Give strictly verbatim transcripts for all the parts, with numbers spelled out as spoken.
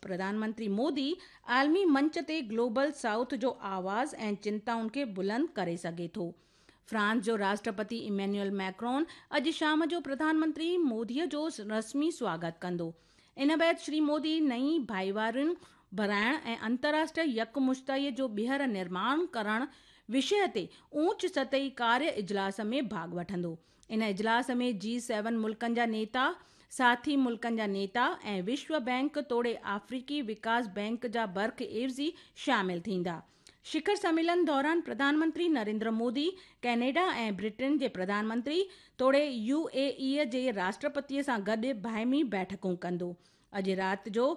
پرڌان منتري مودي عالمي منچ تي گلوبل سائوٿ جو آواز ۽ چنتائن کي بلند ڪري سگهي ٿو. فرانس جو راشٽرپتي ايمينيول ميڪرون اڄ شام جو پرڌان منتري موديء جو رسمي سواگت ڪندو. ان بعد شري مودي نئين ڀائيوارين بڻائڻ ۽ انترراشٽريه يڪمشتائيءَ جو ٻيهر نرماڻ ڪرڻ وشيه تي اوچ سطحي ڪاريه اجلاس ۾ ڀاڳ وٺندو. ان اجلاس ۾ جي سيون ملڪن جا نيتا، ساٿي ملڪن جا نيتا ۽ وشو بينڪ توڙي آفريڪي وڪاس بينڪ جا برک عيوضي شامل ٿيندا. شکر سميلن دوران پرڌان منتري نريندر مودي ڪينيڊا ۽ برٽن جي پرڌان منتري توڙي يو اي اي جي راشٽرپتيءَ سان گڏ باهمي بيٺڪون ڪندو. اڄ رات جو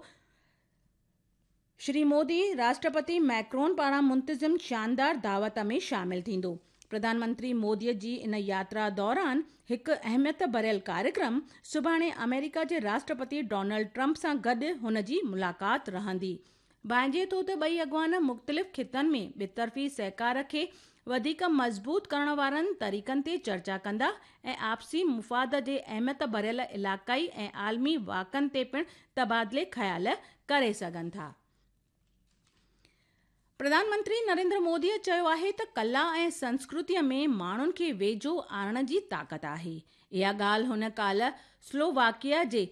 شري مودي راشٽرپتي ميڪرون پاران منتظم شاندار دعوت ۾ شامل ٿيندو. پرڌان منتري موديءَ جي ان ياترا دوران هڪ اهميت ڀريل ڪاريڪرم سڀاڻي آمريڪا جي راشٽرپتي ڊونلڊ ٽرمپ سان گڏ هن جي ملاقات رهندي. ڀانئجي ٿو ته ٻئي اڳواڻ مختلف خطن ۾ ٻطرفي سهڪار کي وڌيڪ مضبوط ڪرڻ وارن طريقن تي چرچا ڪندا ۽ آپسي مفاد جي اهميت ڀريل علائقائي ۽ عالمي واقعن تي پڻ تبادلي خيال ڪري سگهن ٿا. پرڌان منتري نريندر موديءَ چيو آهي ته ڪلا ۽ سنسڪرتيءَ ۾ ماڻهن کي ويجهو آڻڻ جي طاقت آهي. اها ڳالهه هن ڪالهه سلوواڪيا جي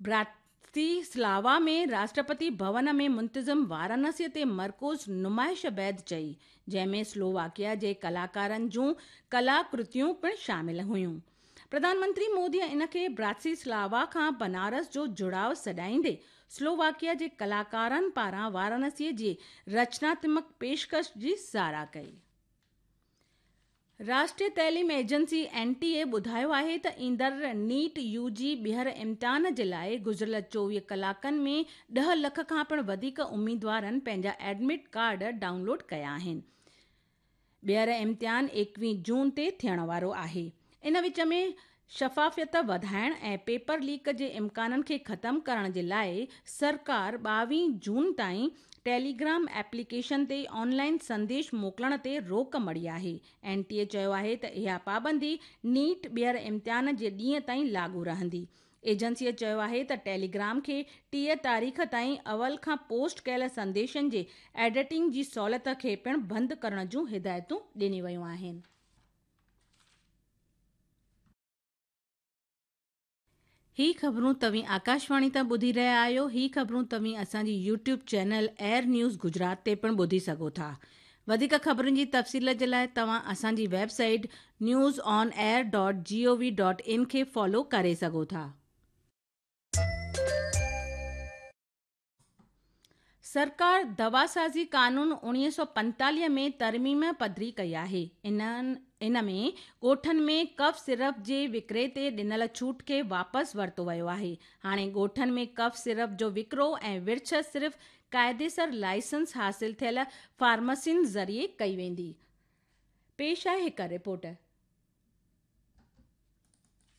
براتيسلاوا ۾ راشٽرپتي ڀون ۾ منتظم وارانسيءَ تي مرڪوز نمائش بعد چئي، جنهن ۾ سلوواڪيا جي ڪلاڪارن جون ڪلاڪرتيون پڻ شامل هيون. پرڌان منتري موديءَ ان کي براتيسلاوا کان بنارس جو جڙاءُ سڏائيندي سلوواڪيا جي ڪلاڪارن پاران وارانسيءَ جي رچناتمڪ پيشڪش جي ساراهه ڪئي. راشٽريه تعليم ايجنسي اين ٽي اي ٻڌايو آهي ته ايندڙ نيٽ يو جي ٻيهر امتحان جي لاءِ گذريل چوويهه ڪلاڪن ۾ ڏهه لک کان پڻ وڌيڪ اميدوارن پنهنجا ايڊمٽ ڪارڊ ڊائونلوڊ ڪيا آهن. ٻيهر امتحان ايڪويهه جون تي ٿيڻ وارو آهي. ان وچ ۾ شفافيت وڌائڻ ۽ پيپر ليڪ جي امڪانن کي ختم ڪرڻ جي لاءِ سرڪار ٻاويهه جون تائين ٽيليگرام ايپليڪيشن تي آنلائن سنديش موڪلڻ تي روڪ مڙهي آهي. اين ٽي اي چيو آهي ته اها پابندي نيٽ ٻيهر امتحان جي ڏينهن تائين لاڳو رهندي. ايجنسيءَ چيو آهي ته ٽيليگرام کي ٽيهه تاريخ تائين اول کان پوسٽ ڪيل سنديشن جي ايڊيٽنگ جي سهوليت کي پڻ بند ڪرڻ جون هدايتون ڏنيون ويون آهن. هي خبرون توهين آڪاشواڻي تان ٻڌي رهيا آهيو. هي خبرون توهين اسان جي YouTube channel air news Gujarat تي پڻ ٻڌي سگهو ٿا. وڌيڪ خبرن جي تفصيل جي لاءِ توهان اسان جي website news on air dot G O V dot in کي فالو ڪري سگهو ٿا. سرڪار دواسازي قانون اڻويهه سؤ پنجيتاليهه ۾ ترميم پڌري ڪئي آهي. انهن ان ۾ ڳوٺن ۾ ڪف سيرپ جي وڪري تي ڏنل ڇوٽ کي واپس ورتو ويو آهي. هاڻي ڳوٺن ۾ ڪف سيرپ جو وڪرو ۽ ورڇ صرف قاعديسر لائسنس حاصل ٿيل فارميسين ذريعي ڪئي ويندي. پيش آهي هڪ رپورٽ.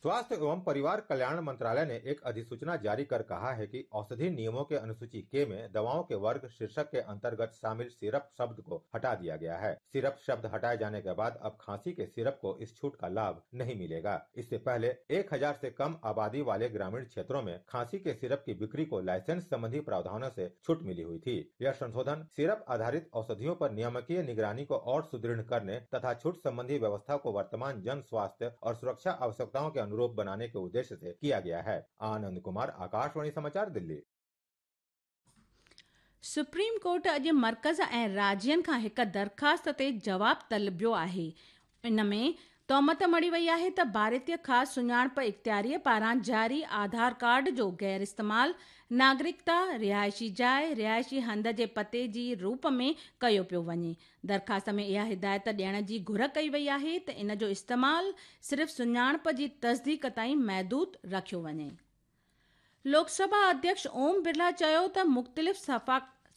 स्वास्थ्य एवं परिवार कल्याण मंत्रालय ने एक अधिसूचना जारी कर कहा है कि औषधि नियमों के अनुसूची के में दवाओं के वर्ग शीर्षक के अंतर्गत शामिल सिरप शब्द को हटा दिया गया है। सिरप शब्द हटाए जाने के बाद अब खांसी के सिरप को इस छूट का लाभ नहीं मिलेगा। इससे पहले एक हजार से कम आबादी वाले ग्रामीण क्षेत्रों में खांसी के सिरप की बिक्री को लाइसेंस संबंधी प्रावधानों से छूट मिली हुई थी। यह संशोधन सिरप आधारित औषधियों पर नियामकीय निगरानी को और सुदृढ़ करने तथा छूट संबंधी व्यवस्था को वर्तमान जन स्वास्थ्य और सुरक्षा आवश्यकताओं के अनुरूप बनाने के उद्देश्य से किया गया है। आनंद कुमार, आकाशवाणी समाचार, दिल्ली। सुप्रीम कोर्ट अॼु मर्कज़ ऐं राज्यनि खां हिकु दरख़्वास्त ते जवाब तलबियो आहे। इन में तोहमत मढ़ी वई आहे त भारतीय ख़ासि सुञाणप इख़्तियारीअ पारां जारी आधार कार्ड जो गैर इस्तेमाल नागरिकता, रिहाइशी जाइ, रिहाइशी हंध जे पते जी रूप में कयो पियो वञे। दरख़्वास्त में इहा हिदायत ॾियण जी घुर कई वई आहे त इन जो इस्तेमाल सिर्फ़ सुञाणप जी तस्दीक ताईं महदूद रखियो वञे। लोकसभा अध्यक्ष ओम बिरला चयो त मुख़्तलिफ़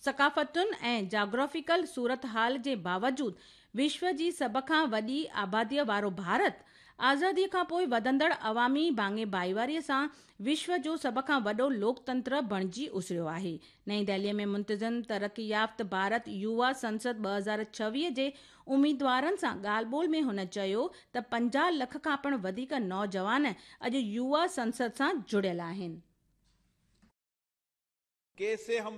सक़ाफ़तुनि ऐं जाग्राफिकल सूरत हाल जे बावजूद विश्व जी सभ खां वॾी आबादीअ वारो भारत आज़ादीअ खां पोइ वधंदड़ अवामी भाङे भाईवारीअ सां विश्व जो सभ खां वॾो लोकतंत्र बणिजी उसरियो आहे। नई दिल्लीअ में मुंतज़िम तरक़ी याफ़्त भारत युवा संसद ॿ हज़ार छवीह जे उम्मीदवारनि सां ॻाल्हि ॿोल में हुन चयो त पंजाह लख खां पिणु वधीक नौजवान अॼु युवा संसद सां जुड़ियल आहिनि। कैसे हम